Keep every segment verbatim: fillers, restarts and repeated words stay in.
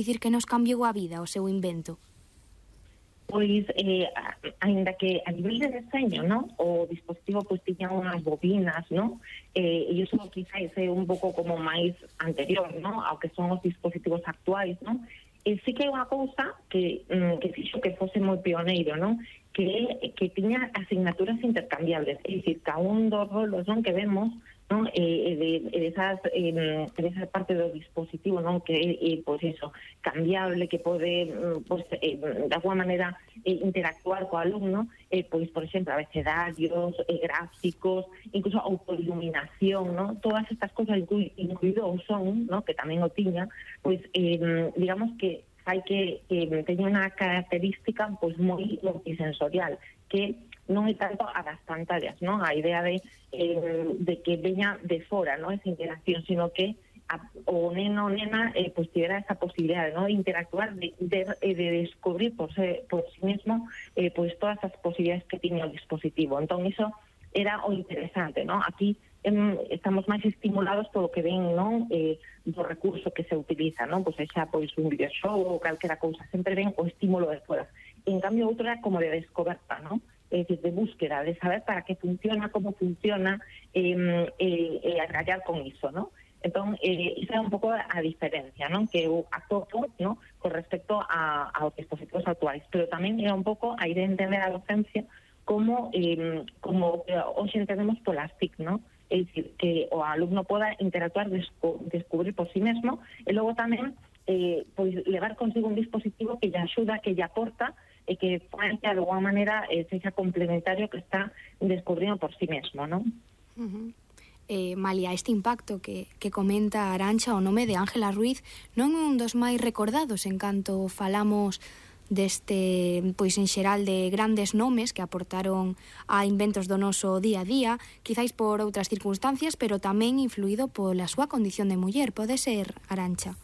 dicir que nos cambiou a vida o seu invento? Pois, eh, ainda que a nivel de deseño, ¿no? O dispositivo pois tiña unhas bobinas, ¿no? Eh, e iso quizás é un pouco como máis anterior, ¿no? Ao que son os dispositivos actuais, ¿no? E sí que hai unha cousa que, mm, que fixo que fose moi pioneiro, ¿no? Que que tiña asignaturas intercambiables, é dicir, cada un dos rolos, non, que vemos, non, eh, de, de esas eh, de esa parte do dispositivo, non, que é, eh, pois eso, cambiable, que pode, pois, eh, de alguma maneira eh, interactuar co alumno, eh, pois, por exemplo, abecedarios, eh, gráficos, incluso autoiluminación, non, todas estas cousas, incluído o son, non, que tamén o tiña, pois, eh, digamos que fai que, que teña unha característica pois moi multisensorial, que non é tanto a das pantallas, non? A idea de, eh, de que veña de fora, non? Esa interacción, sino que a, o neno o nena eh, pues tivera esa posibilidade, ¿no? De interactuar, de, de, de descubrir por, se, por sí mismo eh, pues todas as posibilidades que tiña o dispositivo. Entón, iso era o interesante, ¿no? Aquí em, estamos máis estimulados polo que ven, non? Eh, do recurso que se utiliza, non? Pois pues xa pois un videoxogo ou calquera cousa, sempre ven o estímulo de fora. En cambio, outro era como de descoberta, non? Es decir, de búsqueda, de saber para qué funciona, cómo funciona, eh, eh, eh, agarrar con iso, ¿no? Entón, eh, esa é un pouco a diferencia, non? Que eu atopo, ¿no? Con respecto a, aos dispositivos actuais, pero tamén é un pouco a ir a entender a docencia como, eh, como eh, hoxe entendemos polas T I C, ¿no? É dicir, que o alumno poda interactuar, desco, descubrir por sí mesmo, e logo tamén eh, pois levar consigo un dispositivo que lle axuda, que lle aporta, e que fai que de alguma maneira eh, sexa complementario que está descubrindo por sí mesmo, non? Uh-huh. Eh, Malia, este impacto que, que comenta Arantxa, o nome de Ángela Ruiz non é un dos máis recordados en canto falamos deste, pois en xeral, de grandes nomes que aportaron a inventos do noso día a día, quizáis por outras circunstancias, pero tamén influído pola súa condición de muller. Pode ser, Arantxa?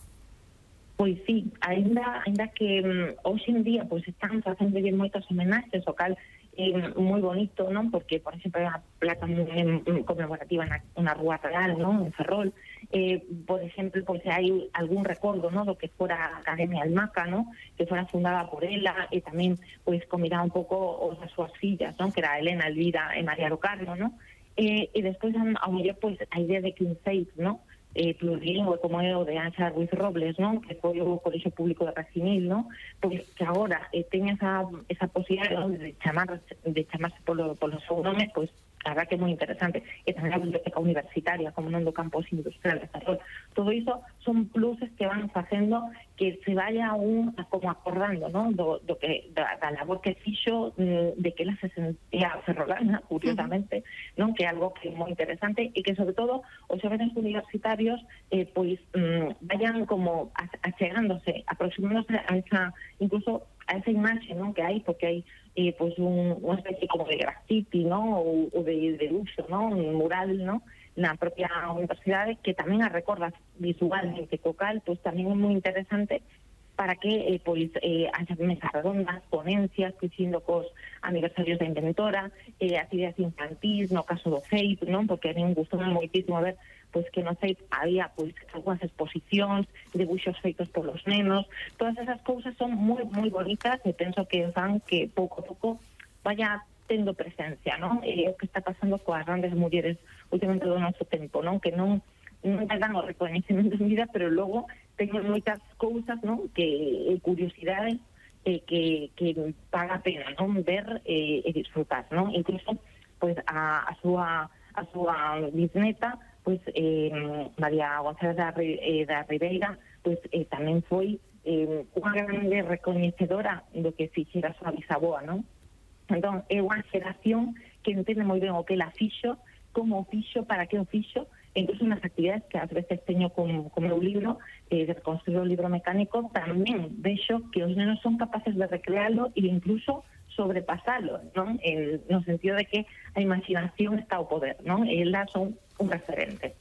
Pois sí, ainda, ainda que um, hoxe en día pois están facendo moitas homenaxes, o cal é eh, moi bonito, non? Porque, por exemplo, hai unha placa moi conmemorativa na, na Rúa Real, non? En Ferrol. Eh, por exemplo, pois hai algún recordo, non? Do que fora a Academia Almaca, non? Que fora fundada por ela, e tamén pois combinaba un pouco os as súas fillas, non? Que era Elena, Elvira e María do Carmo, non? E, e despois, ao mellor, pois, a idea de que un seis, non? Eh, plurilingüe como é o de Ángela Ruiz Robles, non? Que foi o Colexio Público de Racinil, non? Pois que agora eh, ten esa, esa posibilidade, non? de chamar de chamarse polo, polo seu nome, pois a verdad que é moi interesante. E tamén a biblioteca universitaria, como non do campus industrial de Ferrol. Todo iso son pluses que van facendo que se vaya un como acordando, non? Do, do que, da, da labor que fixo, de que ela se sentía ferrolana, curiosamente, uh-huh. non? Que é algo que é moi interesante e que, sobre todo, os xóvenes universitarios eh, pois mm, vayan como achegándose, aproximándose a esa, incluso a esa imaxe, non? Que hai, porque hai eh, pois un, unha especie como de graffiti, non? Ou, ou de, de uso, non? Un mural, non? Na propia universidade, que tamén a recorda visualmente co cal, pois tamén é moi interesante para que eh, pois eh, haxa mesas redondas, ponencias, coincidindo cos aniversarios da inventora, eh, actividades infantís, no caso do C E I P, non? Porque a mí me gustou moitísimo ver pois que no C E I P había pois algunhas exposicións, debuxos feitos polos nenos, todas esas cousas son moi moi bonitas e penso que fan que pouco a pouco vaya tendo presencia, non? E o que está pasando coas grandes mulleres últimamente do noso tempo, non? Que non non te dan o recoñecemento en vida, pero logo teñen moitas cousas, non? Que eh, curiosidades eh, que, que paga a pena, non? Ver eh, e disfrutar, non? Incluso pois a, a súa a súa bisneta, pois eh, María González da, eh, da Ribeira, pois eh, tamén foi eh, unha grande recoñecedora do que fixera a súa bisaboa, non? Entón, é unha xeración que entende moi ben o que ela fixo, como o fixo, para que o fixo, e incluso nas actividades que ás veces teño con, con meu libro, eh, de reconstruir o libro mecánico, tamén vexo que os nenos son capaces de recrearlo e incluso sobrepasalo, non? En, no sentido de que a imaginación está ao poder, non? E elas son un referente.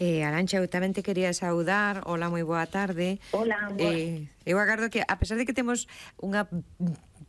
Eh, Arantxa, eu tamén te quería saudar. Hola, moi boa tarde. Hola, boa. Eh, eu agardo que, a pesar de que temos unha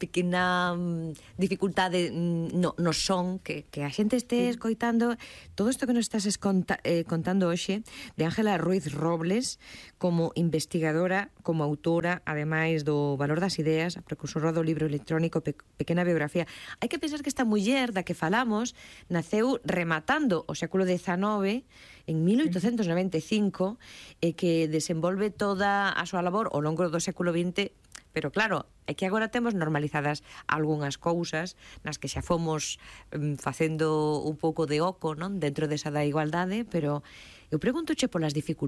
pequena um, dificultade no, no son, que, que a xente este escoitando todo isto que nos estás esconta, eh, contando hoxe de Ángela Ruiz Robles como investigadora, como autora, ademais do Valor das Ideas, a precursora do libro electrónico Pe Pequena Biografía. Hai que pensar que esta muller da que falamos naceu rematando o século dezanove en mil oitocentos noventa e cinco e que desenvolve toda a súa labor ao longo do século vinte. Pero claro, é que agora temos normalizadas algunhas cousas nas que xa fomos um, facendo un pouco de oco, non, dentro desa da igualdade, pero eu pregúntoche polas dificultades